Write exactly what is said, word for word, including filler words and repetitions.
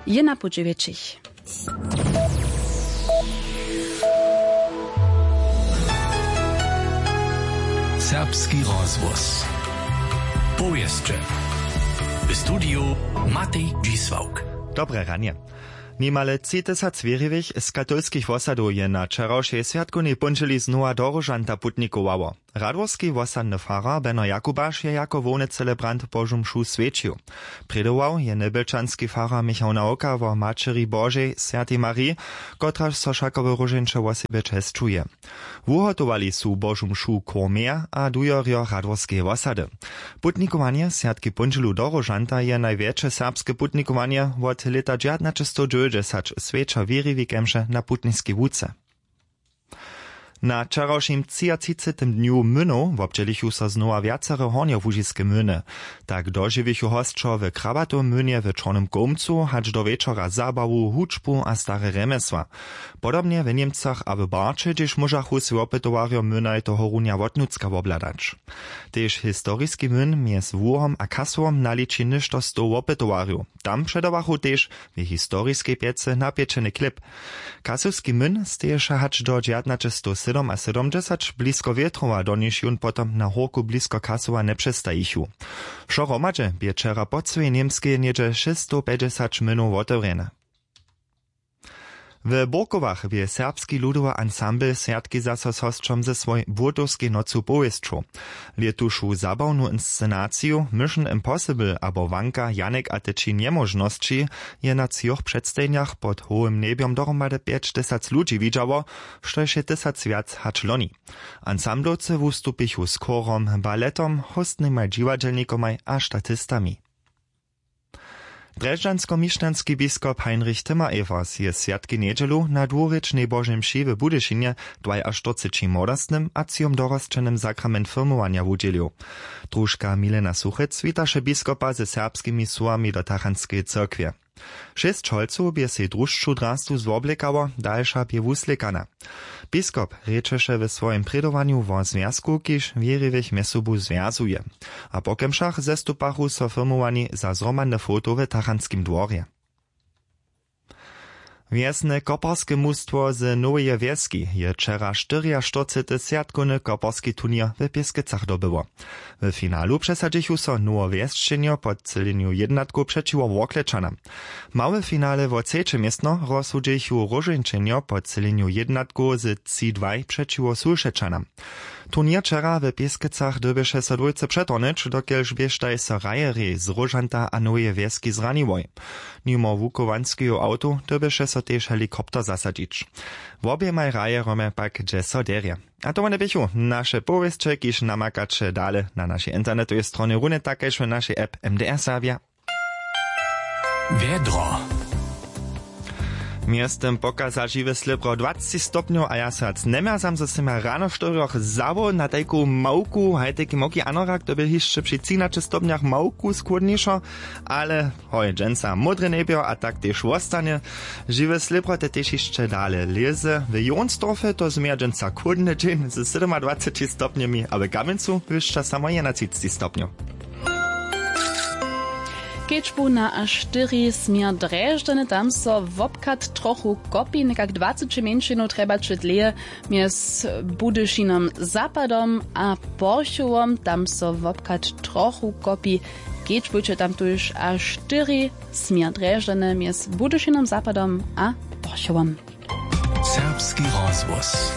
Je na puće wjetšich. Serbski rozhłos. Powěsće. W studiju Matej Dźisławk. Dobre ranje. Nimale tři tysac wěriwych z katolskich wosadow je na wčerawšej swjatkownej póndźěli znowa do Róžanta putnikowało. Radworski wosadny farar Beno Jakubaš je jako hłowny celebrant Božu mšu swjećił. Prědował je njebjelčanski farar Michał Nawka wo Maćeri Božej, swjatej Mariji, kotraž so wšako w Róžeńće wosebje česćuje. Wuhotowali su Božu mšu chór Měr a dujerjo Radworskeje wosady. Putnikowanje swjatki póndźělu do Róžanta je najwjetše serbske putnikowanje wot lěta dźewjatnaćestowdźewjećdźesać, swjeća wěriwi kemše na putniskej łuce. Na wčerawšim třiatřicetym dnju mynow wobdźělichu so znowa wjacere hornjołužiske myny. Tak dožiwichu hosćo w Krabatowym mynje w Čornym Kołmcu hač do wječora zabawu, hudźbu a stare rjemjesła. Podobnje w Němcach a w Barće, hdźež móžachu swój wopytowarjo mynaj tohorunja wotnutřka wobhladać. Tež historiski myn mjez Łuhom a Kasowom naliči něšto stow wopytowarjow. Tam předawachu tež w historiskej pjecy napječeny chlěb. Kasowski myn steješe hač do dźewjatnaćestowsydomasydomdźesać blisko Wětrowa, do nichž jón potom na hórku blisko Kasowa njepřestajichu. Wšo hromadźe bě wčera po cyłej Němskej něhdźe šěsćstowpjećdźesać mynow wotewrjene. W Burkowach bě Serbski ludowy ansambl swjatki zaso z hosćom ze swojej Błótowskej nocu powěsćow. Lětušu zabawnu inscenaciju Mission Impossible abo Wanka Janek a te tři njemóžnosći je na třoch předstajenjach pod hołym njebjom dohromady pjećtysac ludźi widźało, štož je tysacwjac hač loni. Ansamblowcy wustupichu z chórom, baletom, hóstnymaj dźiwadźelnikomaj a statistami. Drježdźanskomišćanski biskop Heinrich Timmer-Evers je swjatki njedźelu na dwurěčnej Božej mši w Budyšinje dwajaštyrceći młodostnym a třijom dorosćenym sakrament firmowanja wudźělił. Družka Milena Suchec witaše biskopa ze serbskimi słowami do tachantskeje cyrkwje. Šěsć holcow bě sej drušću drastu zwoblěkało, dalša bě wuslěkana. Biskop rěčeše w swojim prědowanju wo zwjazku, kiž wěriwych mjez sobu zwjazuje. A po kemšach zestupachu so firmowani za zhromadne foto w tachantskim dworje. Wjesne koparske mustwo z Noweje Wjeski je wčera štyriaštyrcety swjatkowny koparski turněr w Pěskecach dobyło. W finalu přesadźichu so Nowowjesčenjo po třělenju jědnatkow přećiwo Worklečanam. Małe finale wo třeće městno rozsudźichu Róžeńčenjo po třělenju jědnatkow z tři dwaj přećiwo Sulšečanam. Turněr wčera w Pěskecach dyrbješe so dwójce přetohnyć, dokelž běštaj so hrajerjej z Róžanta a Noweje Wjeski zraniłoj. Nimo wuchowanskeju awtow dyrbješe so tež helikopter zasadźić. Woběmaj hrajerjomaj pak dźe so derje. A to wone běchu naše powěsće, kiž namakaće dale na našej internetowej stronje, runje tak kaž w našej app M D R Serbja. Wjedro. Mjeztym pokaza žiwe slěpro dwaceći stopnjow a ja so wjac njemjerzam, zo sym ja rano w štyrjoch zawoł na tajku małku, haj tajki małki anorak, to bě hišće při třinaće stopnjach małku schłódnišo, ale hoj, dźensa módre njebjo a tak tež wostanje. Žiwe slěpro te tež hišće dale lěze. W Jonsdorfje to změja dźensa chłódny dźeń ze sydomadwaceći stopnjemi a w Kamjencu wyšća samo jedenatřiceći stopnjow. Kedźbu na A štyri směr Drježdźany, tam so wobchad trochu kopi, někak dwaceći mjeńšinow trjebaće dlěje mjez Budyšinom zapadom a Porchowom, tam so wobchad trochu kopi. Kedźbujće tam tuž A štyri směr Drježdźany mjez Budyšinom zapadom a Porchowom. Serbski rozhłos.